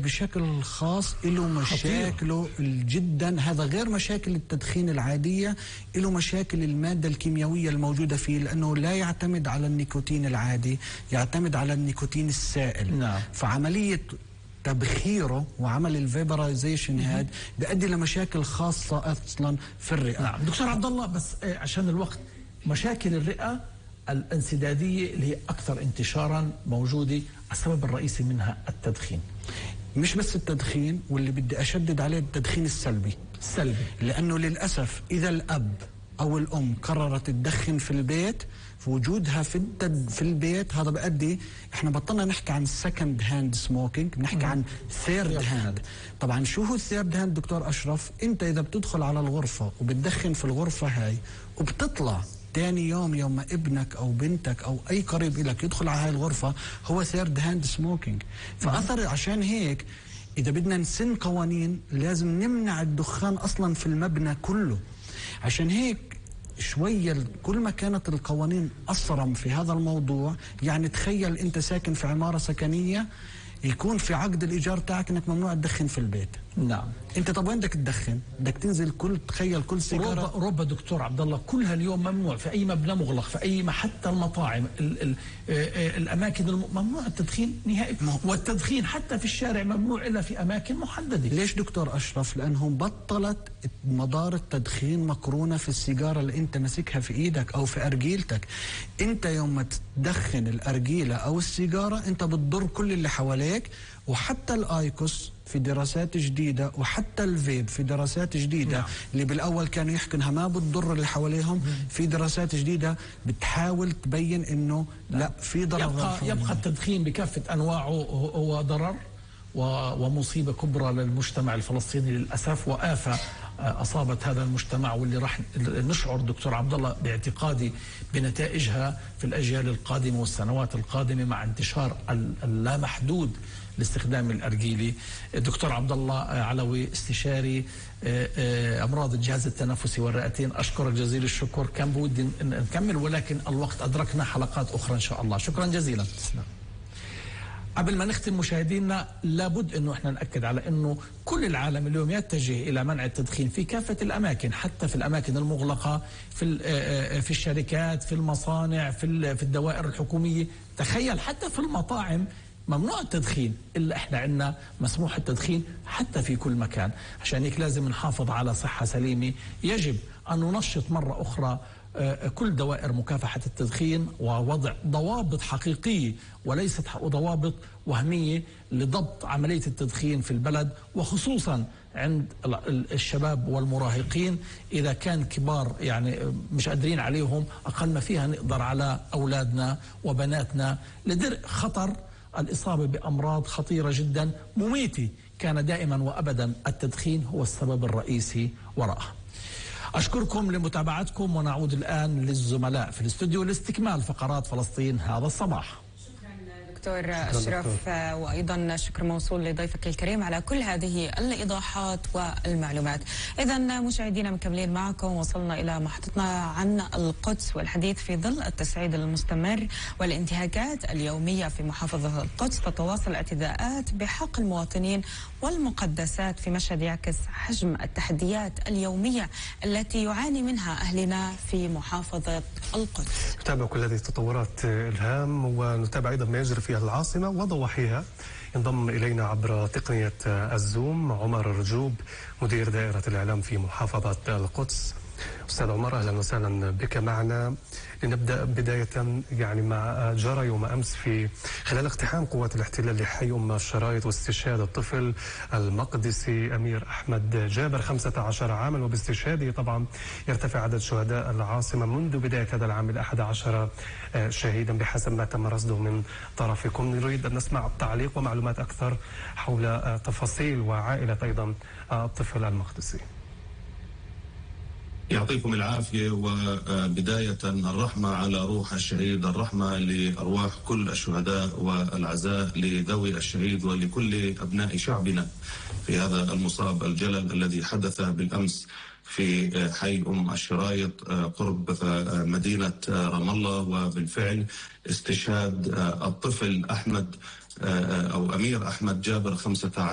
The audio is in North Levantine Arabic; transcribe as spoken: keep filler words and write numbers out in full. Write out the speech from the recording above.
بشكل خاص له مشاكله جدا، هذا غير مشاكل التدخين العادية، له مشاكل المادة الكيميائية الموجودة فيه، لأنه لا يعتمد على النيكوتين العادي، يعتمد على النيكوتين السائل. نعم. فعملية تبخيره وعمل الفيبرايزيشن هاد بيؤدي لمشاكل خاصة أصلا في الرئة. نعم دكتور عبد الله، بس عشان الوقت، مشاكل الرئة الانسدادية اللي هي أكثر انتشارا موجودة، السبب الرئيسي منها التدخين. مش بس التدخين، واللي بدي أشدد عليه التدخين السلبي. السلبي لأنه للأسف إذا الأب أو الأم قررت تدخن في البيت، في وجودها في التد في البيت، هذا بأدي، احنا بطلنا نحكي عن سكند هاند سموكينج، بنحكي عن ثيرد هاند. طبعا شو هو الثيرد هاند دكتور أشرف؟ انت إذا بتدخل على الغرفة وبتدخن في الغرفة هاي وبتطلع تاني يوم يوم ما ابنك او بنتك او اي قريب لك يدخل على هاي الغرفة، هو ثيرد هاند سموكينج. فاثر عشان هيك اذا بدنا نسن قوانين لازم نمنع الدخان اصلا في المبنى كله. عشان هيك شوية كل ما كانت القوانين أصرم في هذا الموضوع، يعني تخيل أنت ساكن في عمارة سكنية يكون في عقد الإيجار تاعك أنك ممنوع تدخن في البيت. نعم. أنت طب وين بدك تدخن؟ بدك تنزل كل تخيل كل سيجارة. ربا ربا دكتور عبد الله كلها اليوم ممنوع في أي مبنى مغلق، في أي حتى المطاعم، ال ال الأماكن ممنوع التدخين نهائي، والتدخين حتى في الشارع ممنوع إلا في أماكن محددة. ليش دكتور أشرف؟ لأنهم بطلت مدار التدخين مقرونة في السيجارة اللي أنت ماسكها في إيدك أو في أرجيلتك. أنت يوم ما تدخن الأرجيلة أو السيجارة أنت بتضر كل اللي حواليك. وحتى الآيكوس في دراسات جديدة، وحتى الفيب في دراسات جديدة. نعم. اللي بالأول كانوا يحكوا إنها ما بتضر اللي حواليهم، مم. في دراسات جديدة بتحاول تبين إنه نعم. لا، في ضرر. يبقى, يبقى التدخين بكافة أنواعه هو ضرر ومصيبة كبرى للمجتمع الفلسطيني للأسف، وآفة أصابت هذا المجتمع، واللي راح نشعر دكتور عبد الله باعتقادي بنتائجها في الأجيال القادمة والسنوات القادمة مع انتشار اللامحدود لاستخدام الأرجيلي. دكتور عبد الله علوي، استشاري أمراض الجهاز التنفسي والرئتين، أشكرك جزيل الشكر. كان بودي نكمل ولكن الوقت أدركنا حلقات أخرى إن شاء الله. شكرا جزيلا. قبل ما نختم مشاهدينا، لابد انه احنا ناكد على انه كل العالم اليوم يتجه الى منع التدخين في كافه الاماكن، حتى في الاماكن المغلقه، في في الشركات، في المصانع، في في الدوائر الحكوميه. تخيل حتى في المطاعم ممنوع التدخين، الا احنا عندنا مسموح التدخين حتى في كل مكان. عشان هيك لازم نحافظ على صحه سليمه. يجب ان ننشط مره اخرى كل دوائر مكافحة التدخين ووضع ضوابط حقيقية وليست ضوابط وهمية لضبط عملية التدخين في البلد، وخصوصا عند الشباب والمراهقين. إذا كان كبار يعني مش قادرين عليهم، أقل ما فيها نقدر على أولادنا وبناتنا لدرء خطر الإصابة بأمراض خطيرة جدا مميتة كان دائما وأبدا التدخين هو السبب الرئيسي وراءها. أشكركم لمتابعتكم، ونعود الآن للزملاء في الاستوديو لاستكمال فقرات فلسطين هذا الصباح. دكتور أشرف، وأيضا شكر موصول لضيفك الكريم على كل هذه الإيضاحات والمعلومات. إذا مشاهدينا مكملين معكم، وصلنا إلى محطتنا عن القدس والحديث في ظل التصعيد المستمر والانتهاكات اليومية في محافظة القدس. تتواصل الاعتداءات بحق المواطنين والمقدسات في مشهد يعكس حجم التحديات اليومية التي يعاني منها أهلنا في محافظة القدس. نتابع كل هذه التطورات إلهام، ونتابع أيضا ما يجري في العاصمة وضواحيها. ينضم إلينا عبر تقنية الزوم عمر رجوب، مدير دائرة الإعلام في محافظة القدس. أستاذ عمر، أهلا وسهلا بك معنا. لنبدأ بداية يعني ما جرى يوم أمس في خلال اقتحام قوات الاحتلال لحي أم الشرايط واستشهاد الطفل المقدسي أمير أحمد جابر خمسة عشر عاما، وباستشهاده طبعا يرتفع عدد شهداء العاصمة منذ بداية هذا العام إلى أحد عشر شهيدا بحسب ما تم رصده من طرفكم. نريد أن نسمع تعليق ومعلومات أكثر حول تفاصيل وعائلة أيضا الطفل المقدسي. يعطيكم العافية، وبداية الرحمة على روح الشهيد، الرحمة لأرواح كل الشهداء، والعزاء لذوي الشهيد ولكل أبناء شعبنا في هذا المصاب الجلل الذي حدث بالأمس في حي أم الشرايط قرب مدينة رام الله. وبالفعل استشهاد الطفل أحمد أو أمير أحمد جابر خمسة عشر